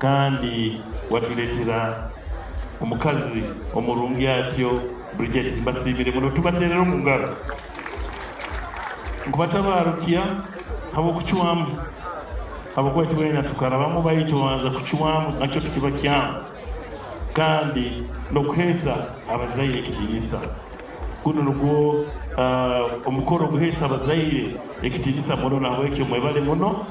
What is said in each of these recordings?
Kandi watuleetera omukazi omurungi atyo Bridget. Mbasiimire muno, tubateerere omu ngaro. Nkubatabaarukya habw'okucwamu, habwokuba itwena tukarabamu, baitu obanza kucwamu nakyo tikiba kyangu, kandi n'okuheesa abazaire ekitiinisa. Gunu nugwo omukoro oguheesa abazaire ekitiinisa muno, nahabwekyo mwebale muno,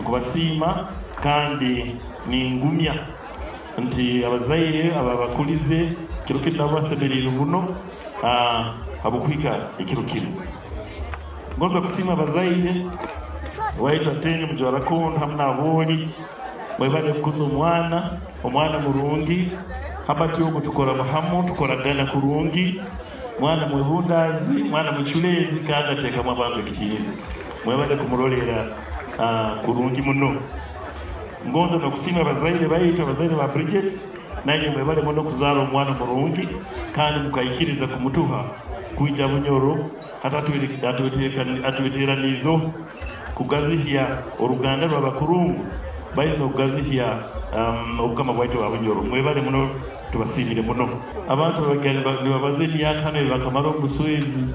nkubasiima kandi ningumya nti abazaire ababakulize kiro kinu nabo basemeriirwe muno habw'okuhika ekiro kinu. Ngonza kusiima abazaire waitu Atenyo, Mujwara Kondo hamu n'Abooli, mwebale kukuza omwana, omwana murungi. Hambati ogu tukora hamu, tukoragana kurungi, mwana mwebundaazi, mwana muculeezi kandi ateekamu abantu ekitiinisa. Mwebale kumurolera kurungi muno. Ngonza n'okusiima abazaire baitu, abazaire ba Bridget, nainywe mwebale muno kuzaara omwana murungi kandi mukaikiriza kumutuha kwija Bunyoro. Hati atweteraniizeho kugazihya oruganda rw'abakurungu baitu n'okugazihya obukama bwaitu bwa Bunyoro. Mwebale muno, tubasiimire muno. Abantu nibabaza emyaka hanu ei bakamara omu buswezi.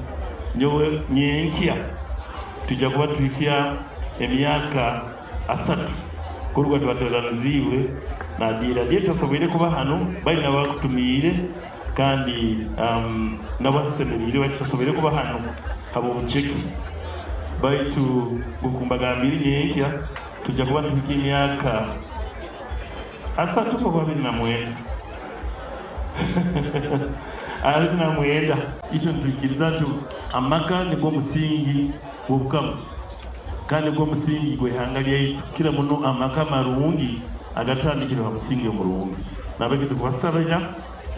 Nyowe nyenkya twija kuba tuhikya emyaka 30 kuruga twateraniziibwe na Adieri. Adieri tasoboire kuba hanu, baitu nabo bakutumiire kandi nabo asemeriire, baitu tasoboire kuba hanu habw'obuceke. Baitu nk'oku mbagambire, nyenkya tujja kuba nituhikya emyaka 30 oba 29. 29. Itwe nitwikiriza nti amaka nigwo musingi gw'obukama kandi nigwo musingi gw'ihanga lyaitu, kukira muno amaka amarungi agatandikirwe ha musingi omurungi. Nahabweki tukubasabira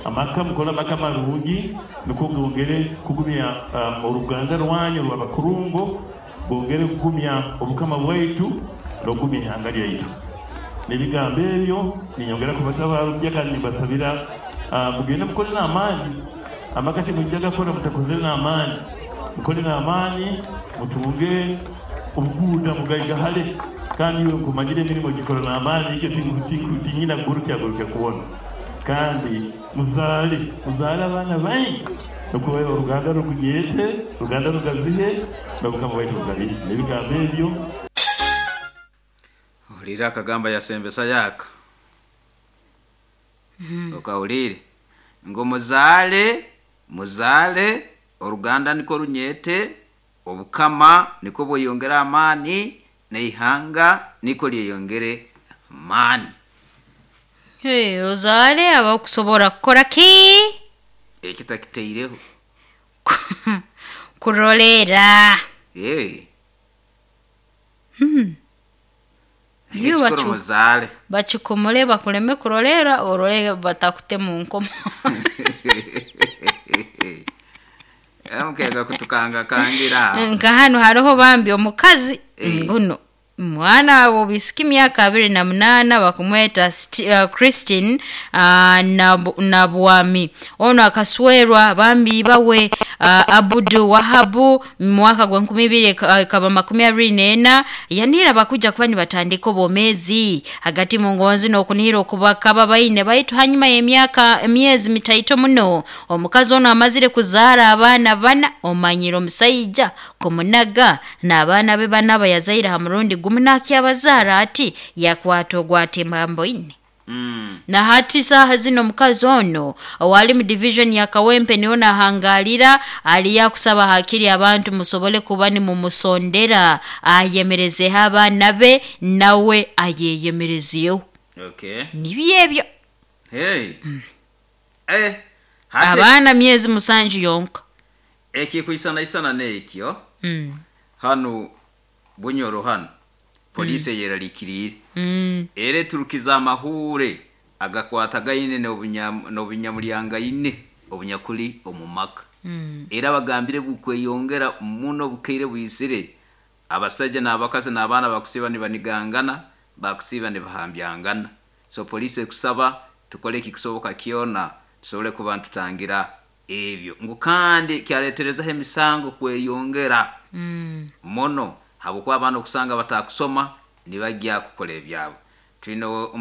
amaka, mukole amaka marungi nukwo gongere kugumya oruganda rwanyu rw'abakurungo, bongere kugumya obukama bwaitu n'okugumya ihanga lyaitu. N'ebigambo ebyo ninyongera kubatabaarukya kandi nimbasabira mugende mukole n'amaani. Amaka timwijja gakora mutakozere n'amaani. Mukole n'amaani, mutunge obuguuda, mugaigahale, kandi iwe nkumanyire emirimo gikora n'amaani, ekyo tinyina kugurukya kwona. Kandi muzaale, muzaale abaana baingi nukwo oruganda rukunyete, oruganda rugazihe, n'obukama bwaitu bugazihe. N'ebigambo ebyo. Ohuliire akagamba yasembesa yaka? Okahuliire? Ngu muzaale, muzaale, oruganda nikwo runyete, obukama nikwo bweyongere amaani, n'eihanga nikwo lyeyongere amaani. Hey, ozaale abakusobora kukora ki? Ekitakitaireho. Kuroleera. Hey. Iyo Ekikuru muzaale. Bakikomole bakuleme kuroleera, orole batakute mu nkomo. Mukega kutukangakangira. Nka hanu hariho bambi omukazi Eh. nguno mwana wobisika emyaka 28, bakumweta Christine Nabwami. Ono akaswerwa bambi bawe Abudu Wahabu mu mwaka gwa 2024, yanira bakuja kuba nibatandika obwomezi hagati mu ngonzi n'okunihira okubakaba baine, baitu hanyuma y'emyaka emyezi mitaito muno omukazi ono amazire kuzaara abaana bana, omanyire omusaija kumunaga n'abaana be bana abayazaire ha murundi gumu nakyabazaara ati yakwata ogwatemba mboine. Na hati saaha zino omukazi ono owali mu division ya Kawempe niho nahangalira, aliyo akusaba hakiri abantu musobole kuba nimumusondera ayemerezeho abaana be nawe ayeyemerezeho. Okay. Nibyo ebyo. Hey. Eh, hati Abaana myezi 7 yonka. Ekikwisanaisana n'ekyo. Hanu Bunyoro hanu polisi eyerarikiriire. Era eturukiza amahure agakwatagaine n'obunyamulyangaine obunyakuli omu maka. Era bagambire bukweyongera muno bukaire bwizire, abasaija n'abakazi n'abaana bakusiiba nibanigangana, bakusiiba nibahambyangana. So polisi ekusaba tukole ekikusoboka kyona tusobole kuba nitutangira ebyo. Ngu kandi kyaleterezaho emisango kweyongera muno habwokuba abaana okusanga batakusoma nibajya kukora ebyabo. Twine